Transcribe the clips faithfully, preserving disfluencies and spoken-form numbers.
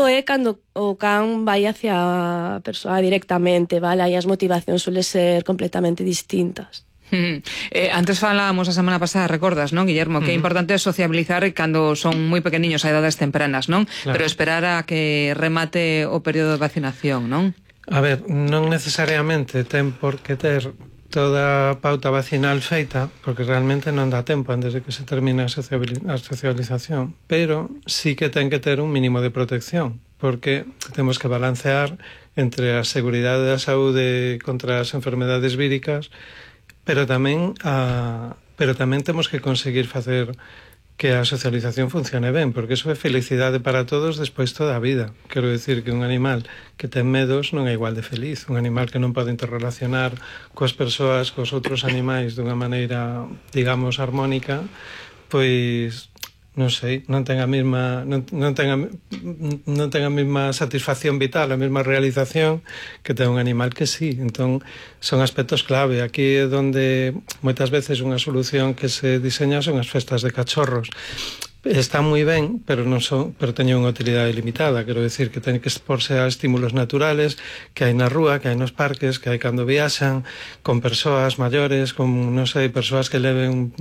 é cando o can vai hacia a persoa directamente, vale? Aí as motivacións suelen ser completamente distintas. Mm. Eh, antes falábamos a semana pasada, recordas, non, Guillermo, que é importante sociabilizar cando son moi pequeniños a edades tempranas, non? Claro. Pero esperar a que remate o período de vacinación, non? A ver, non necesariamente ten por que ter toda a pauta vacinal feita, porque realmente non dá tempo antes de que se termine a socialización, pero sí que ten que ter un mínimo de protección, porque temos que balancear entre a seguridade da saúde contra as enfermedades víricas, pero tamén a, pero tamén temos que conseguir facer que a socialización funcione ben, porque iso é felicidade para todos despois toda a vida. Quero dicir que un animal que ten medos non é igual de feliz. Un animal que non pode interrelacionar coas persoas, cos outros animais dunha maneira, digamos, armónica, pois non sei, non ten a mesma non, non ten a, non ten a mesma satisfacción vital, a mesma realización que ten un animal que sí. Entón, son aspectos clave. Aquí é onde moitas veces unha solución que se diseña son as festas de cachorros. Está moi ben, pero non son, pero teñen unha utilidade limitada. Quero decir que ten que exporse a estímulos naturales que hai na rúa, que hai nos parques, que hai cando viaxan, con persoas maiores, con, non sei, persoas que leven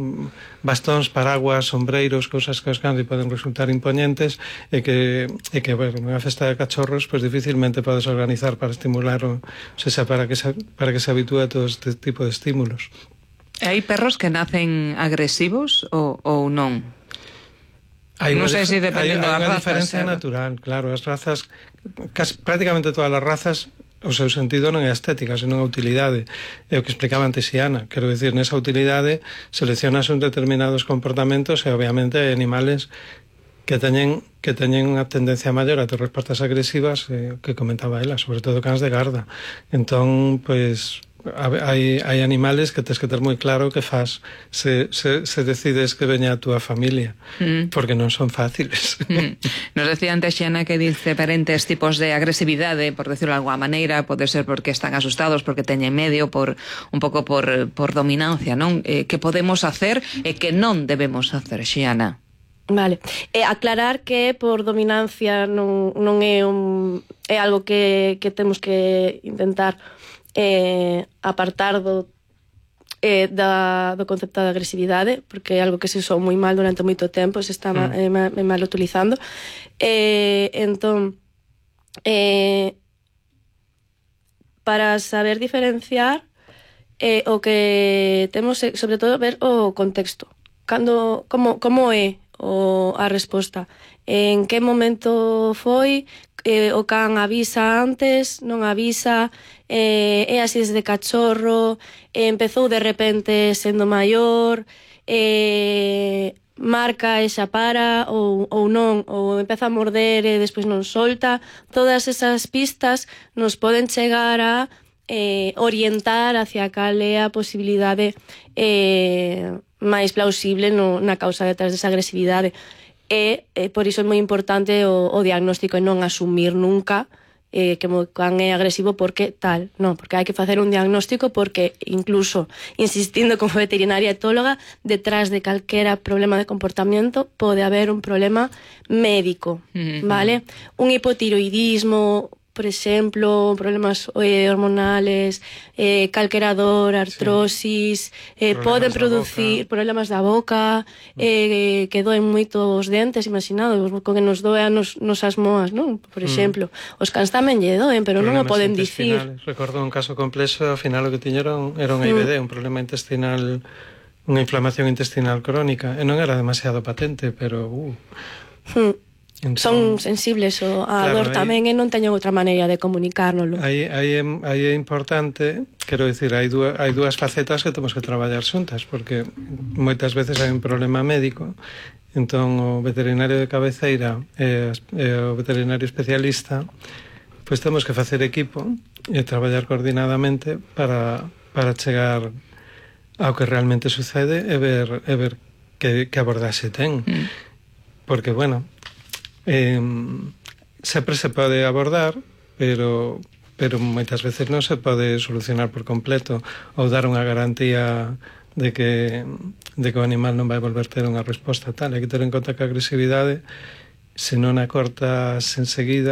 bastóns, paraguas, sombreiros, cousas que os cans poden resultar imponentes, e que, e que bueno, unha festa de cachorros, pois dificilmente podes organizar para estimular, o, o sea, para que se, para que se habitúe a todo este tipo de estímulos. Hai perros que nacen agresivos ou, ou non? Hai non sei se dependendo das razas. Hai unha diferencia eh? natural, claro. As razas, casi, prácticamente todas as razas, o seu sentido non é a estética, senón a utilidade. É o que explicaba antes Xiana. Quero dicir, nesa utilidade seleccionas un determinados comportamentos e, obviamente, hai animales que teñen que teñen unha tendencia maior a ter respostas agresivas, eh, que comentaba ela, sobre todo cans de garda. Entón, pois... Hai, hai animales que tens que ter moi claro que faz se, se, se decides que veña a túa familia, mm. porque non son fáciles. Mm. Nos decía antes Xiana que dice diferentes tipos de agresividade, por decirlo de alguma maneira, pode ser porque están asustados, porque teñen medio, por un pouco por, por dominancia, non? Eh, que podemos hacer e que non debemos hacer, Xiana? Vale, eh, aclarar que por dominancia non, non é un é algo que, que temos que intentar Eh, apartar do, eh, da, do concepto de agresividade, porque é algo que se usou moi mal durante moito tempo, se estaba mm. eh, mal, mal utilizando. Eh, entón, eh, para saber diferenciar, eh, o que temos é, sobre todo, ver o contexto. Cando, como, como é o, a resposta? En que momento foi? Eh, o can avisa antes, non avisa, eh, é así desde cachorro, eh, empezou de repente sendo maior, eh, marca e xa para, ou, ou non, ou empeza a morder e despois non solta. Todas esas pistas nos poden chegar a eh, orientar hacia cal é a posibilidade eh, máis plausible no, na causa detrás desa agresividade. E, e por iso é moi importante o, o diagnóstico e non asumir nunca eh, que o can é agresivo porque tal, non, porque hai que facer un diagnóstico, porque incluso insistindo como veterinaria etóloga, detrás de calquera problema de comportamiento pode haber un problema médico, mm-hmm. vale? Un hipotiroidismo, por exemplo, problemas eh, hormonales, eh, calquera dor, artrosis, sí. eh, poden producir boca. problemas da boca, eh, que doen moito os dentes, imaginado, co que nos doe nos, nos as moas, non? Por exemplo, mm. os cans tamén lle doen, pero problemas non o poden dicir. Recordo un caso complexo, ao final o que tiñeron era un I B D, mm. un problema intestinal, unha inflamación intestinal crónica, e non era demasiado patente, pero... Uh. Mm. Entón, son sensibles ao a claro, dor tamén e non teñen outra maneira de comunicárnoslo. Aí, aí, é, aí é importante, quero dicir, hai dúas, hai dúas facetas que temos que traballar xuntas, porque moitas veces hai un problema médico, entón o veterinario de cabeceira e, e o veterinario especialista, pois temos que facer equipo e traballar coordinadamente para, para chegar ao que realmente sucede e ver, e ver que, que abordaxe ten. Mm. Porque, bueno... Eh, sempre se pode abordar, pero pero moitas veces non se pode solucionar por completo ou dar unha garantía de que de que o animal non vai volver ter unha resposta tal. Hai que ter en conta que a agresividade se non a cortas enseguida,